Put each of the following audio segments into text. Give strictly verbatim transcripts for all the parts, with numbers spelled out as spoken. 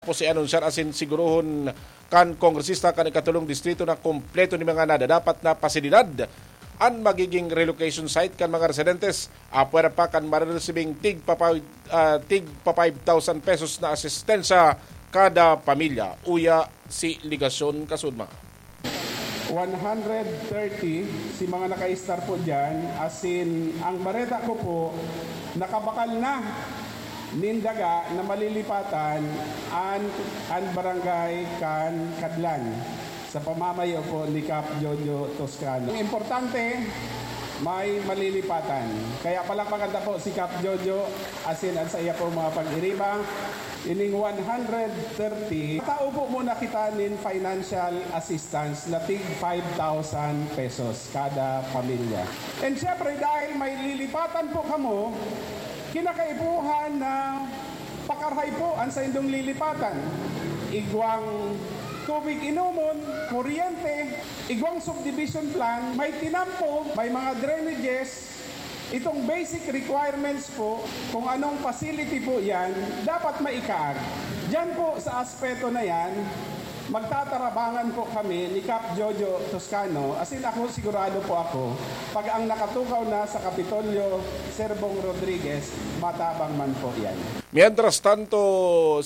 Tapos i-anunsar asin sigurohon kan kongresista kan ikatulong distrito na kompleto ni mga nadadapat na pasilidad an magiging relocation site kan mga residentes. Apwera pa kan mareresibing tig pa five, ah, tig pa five thousand pesos na asistensya kada pamilya. Uya si Ligasyon Kasudma. One hundred thirty si mga naka-star po dyan. As in, ang bareta ko po, nakabakal na nin daga na malilipatan an, an barangay kan Kadlan sa pamamayo po ni Kap Jojo Toscano. Ang importante, may malilipatan. Kaya palakpakan ta po si Kap Jojo, asin an saiya po mga pag-iriba. Ining one hundred thirty, tao po muna kita nin financial assistance na tig five thousand pesos kada pamilya. And syempre, dahil may lilipatan po kamo, kinakaipuhan na pakarahay po an saindong lilipatan. Igwang tubig inomon, kuryente, igwang subdivision plan, may tinampo, may mga drainages, itong basic requirements po, kung anong facility po yan, dapat maikaag. Diyan po sa aspeto na yan, magtatarabangan po kami ni Kap Jojo Toscano. As in, ako, sigurado po ako, pag ang nakatukaw na sa Kapitolyo, Sir Bong Rodriguez, matabang man po yan. Mientras tanto,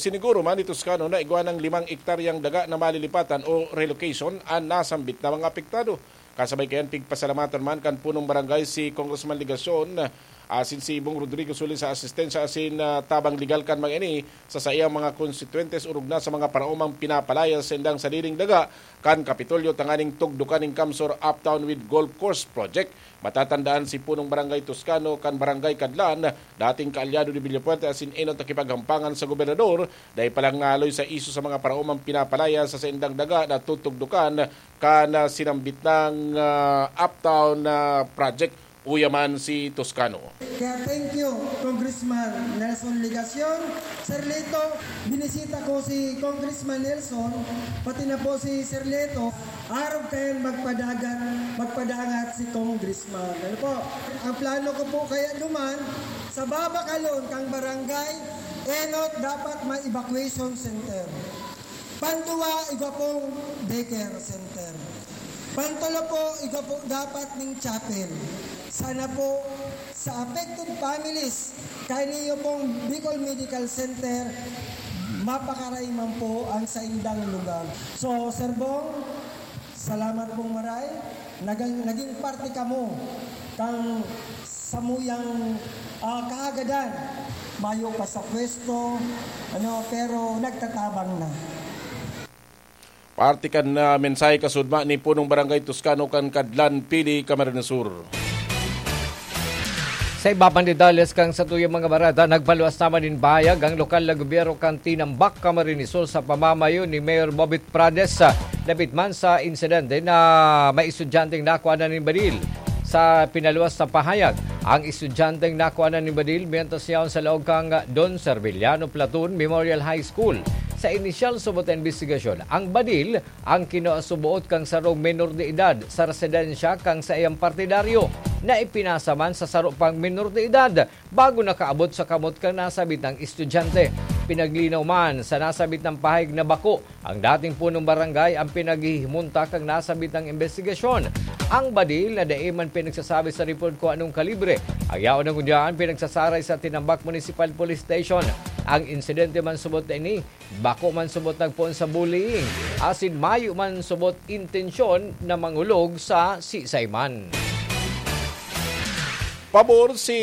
siniguro man ni Toscano na igwa ng limang ektaryang daga na malilipatan o relocation an nasambit na mga apektado. Kasabay kayan, pigpasalamatan man kan punong barangay si Congressman Legacion, asin si Bong Rodrigo Solis sa asistensya asin, ah, tabang legal kan mga ini sa saiyang mga konstituyentes orog na sa mga paraomang pinapalayas sa indang sadiring daga kan Kapitolyo tanganing tugdukan nin CamSur Uptown with Golf Course Project. Matatandaan si punong barangay Toscano kan Barangay Kadlan, dating kaalyado ni Villafuerte asin enot na kipaghampangan sa gobernador, dai pa lang naaloy sa isyu sa mga paraomang pinapalayas sa saindang daga na tutugdukan kan, ah, sinambit nang, ah, Uptown, ah, Project. Uya man si Toscano. Kaya thank you, Congressman Nelson Legacion. Sir Lito, binisita ko si Congressman Nelson, pati na po si Sir Lito. Arog kayan magpadagat, magpadangat si Congressman. Ano po? Ang plano ko po kaya duman, sa babakalon kang barangay, enot dapat may evacuation center. Panduwa, igwa pong daycare center. Pantulo po, igwa po dapat ning chapel. Sana po, sa affected families, kaini pong Bicol Medical Center, mapakaray man po ang saindang lugar. So, Sir Bong, salamat pong maray. Nagang-, naging parte kamo kang samuyang, ah, kahagadan. Mayo pa sa pwesto, ano, pero nagtatabang na. Parte kan, ah, mensahe kasudma ni Punong Barangay Toscano kan Kadlan, Pili, Camarines Sur. Sa iba pang detalles kan satuyang mga bareta, nagpaluwas naman nin pahayag ang lokal na gobyerno kan Tinambak, Camarines Sur, sa pamamayo ni Mayor Bobit Prades, ah, dapit man sa insidente na may estudyanteng nakuha na nin baril. Sa pinaluwas na pahayag, ang estudyanteng nakuha na nin baril mientras yaon sa laog kan Don Serviliano Platoon Memorial High School. Sa inisyal subot na imbestigasyon, ang baril ang kinasubuot kan sarong menor de edad sa residensya kan saiyang partidaryo na ipinasa man sa saro pang menor de edad bago nakaabot sa kamot kan nasabitang estudyante. Pinaglinaw man sa nasabitang pahayag na bako ang dating punong barangay ang pinaghihimunta kan nasabitang imbestigasyon. Ang baril na dai man pinagsasabi sa report kung anong kalibre ang yaon na ngunyan pinagsasaray sa Tinambak Municipal Police Station. Ang insidente man subot na ini, bako man subot nagpoon sa bullying, asin mayo man subot intensyon na mangulog sa sisay man. Pabor si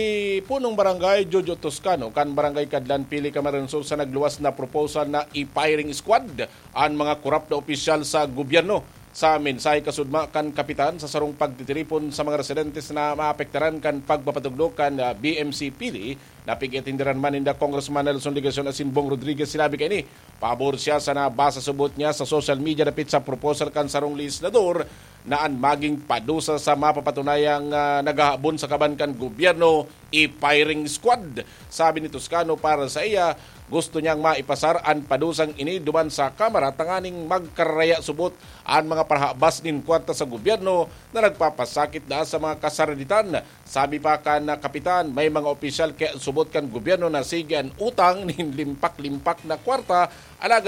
Punong Barangay Jojo Toscano kan Barangay Kadlan, Pili, Camarines Sur sa nagluwas na proposal na i-firing squad an mga korap na opisyal sa gobyerno. Sa mensahe kasudma kan kapitan sa sarong pagtitiripon sa mga residentes na maapektaran kan pagpapatugdok kan, ah, B M C Pili, na pig-atindiran man ninda Congressman Nelson Legacion asin Bong Rodriguez, sinabi kaini, pabor siya sa nabasa subot niya sa social media dapit sa proposal kan sarong legislador na an maging padusa sa mapapatunayang, ah, naghahabon sa kaban kan gobyerno, i-firing squad. Sabi ni Toscano, para sa iya, gusto niyang maipasar an padusang ini duman sa Kamara tanganing magkararaya subot an mga parahabas nin kwarta sa gobyerno na nagpapasakit na sa mga kasaraditan. Sabi pa kan kapitan, may mga opisyal kaya subot kan gobyerno na sige an utang nin limpak-limpak na kwarta, alagad